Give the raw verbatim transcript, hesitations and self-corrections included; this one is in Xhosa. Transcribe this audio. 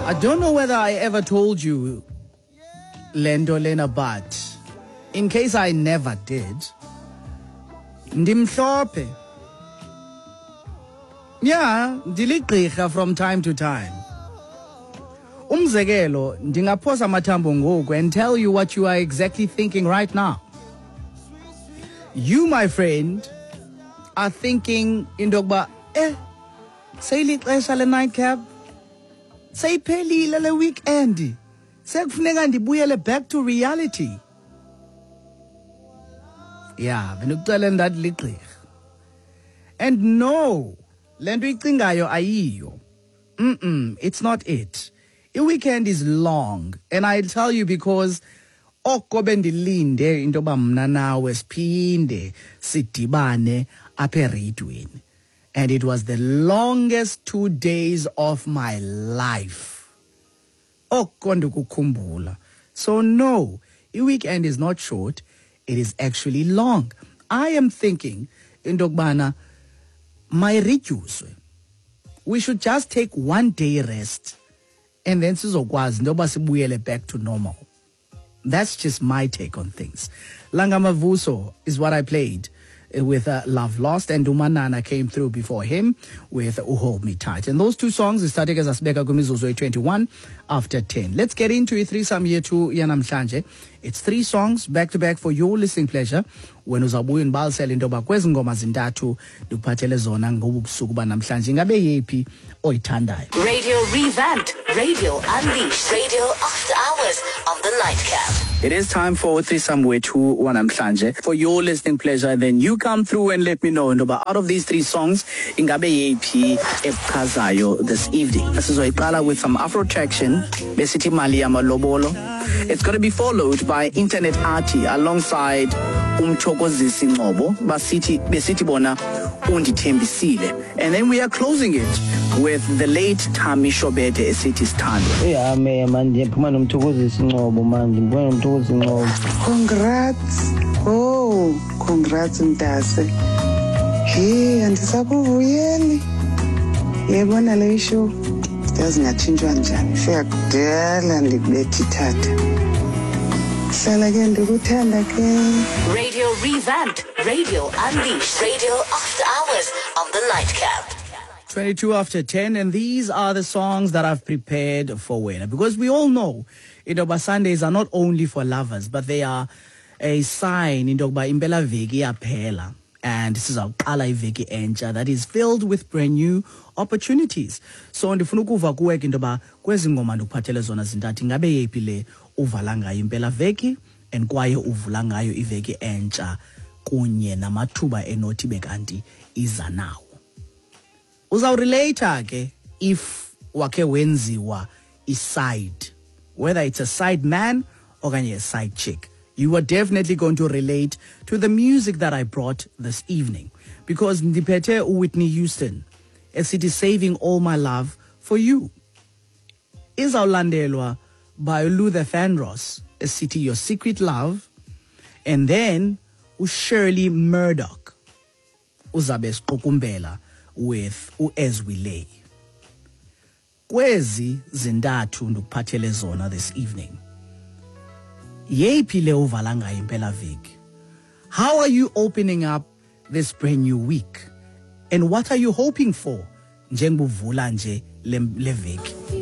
I don't know whether I ever told you lento lena, but in case I never did, ndimhlophe. Yeah, ndiligqirha from time to time. Umzekelo, ndingaphosa amathambo ngoku and tell you what you are exactly thinking right now. You, my friend, are thinking into yokuba, eh, seyilixesha le nightcap, seyiphelile le weekend, sekufuneka ndibuyele back to reality. Yeah, bendikuxelela ndathi ligqirha. And no, le nto icingayo ayiyo. Mm-mm, it's not it. I-weekend is long, and I'll tell you because oko bendilinde into yoba mna nawe siphinde sidibane apha ereyidweni. And it was the longest two days of my life. Oko ndikukhumbula. So no, i-weekend is not short, it is actually long. I am thinking into yokubana mayiredyuswe. We should just take one day rest and then sizokwazi into yoba sibuyele back to normal. That's just my take on things. Langa Mavuso is what I played with uh, Love Lost, and Umanana came through before him with Hold Me Tight. And those two songs started as asibeka kwimizuzu eyi-twenty-one after ten. Let's get into i-threesome yethu yanamhlanje. It's three songs back to back for your listening pleasure. Wena uzawubuya undibalisele into yoba kwezi ngoma zintathu ndikuphathele zona ngobu busuku banamhlanje, ingabe yeyiphi oyithandayo. Radio Revamped, Radio Unleashed, Radio After Hours on the Nightcap. It is time for threesome wethu wanamhlanje. For your listening pleasure, then you come through and let me know into yoba out of these three songs, ingabe yeyiphi ekuchazayo this evening. Sizoyiqala with some Afro traction, besithi Mali Yamalobolo. It's gonna be followed by Internet Arty alongside Umthokozisi Ngcobo, basithi besithi bona Undithembisile. And then we are closing it with the late Thami Shobede esithi Sithandwa. Hey, me man, ndiphuma noMthokozisi Ngcobo manje, ndiphuma noMthokozisi Ngcobo. Congrats. Oh, congrats mntase. Hey, andisakuvuyeli. Yebona le show. Yazi ngatshintshwa njani? Seyakudala ndikubetha ithatha. Hlala ke ndikuthanda ke. Radio Revamped, Radio Unleashed, Radio After Hours on the Nightcap. twenty-two after ten, and these are the songs that I've prepared for wena. Because we all know, into yoba Sundays are not only for lovers, but they are a sign into yokuba impela veki iyaphela. And sizawuqala iveki entsha that is filled with brand new opportunities. So ndifuna ukuva kuwe ke into yoba kwezi ngoma ndikuphathele zona zintathu, ingabe yeyiphi le uvala ngayo impela veki and kwaye uvula ngayo iveki entsha kunye namathuba enothi bekanti iza nawo. Uzawurelate ke if wakhe wenziwa i-side, whether it's a side man okanye a side chick. You are definitely going to relate to the music that I brought this evening, because ndiphethe uWhitney Houston esithi Saving All My Love For You. Izawulandelwa by Luther Vandross esithi Your Secret Love, and then uShirley Murdoch uzabe siqukumbela with uAs We Lay. Kwezi zintathu ndikuphathele zona this evening, yeyiphi le uvala ngayo impela veki? How are you opening up this brand new week? And what are you hoping for njengobuvula nje le, le veki?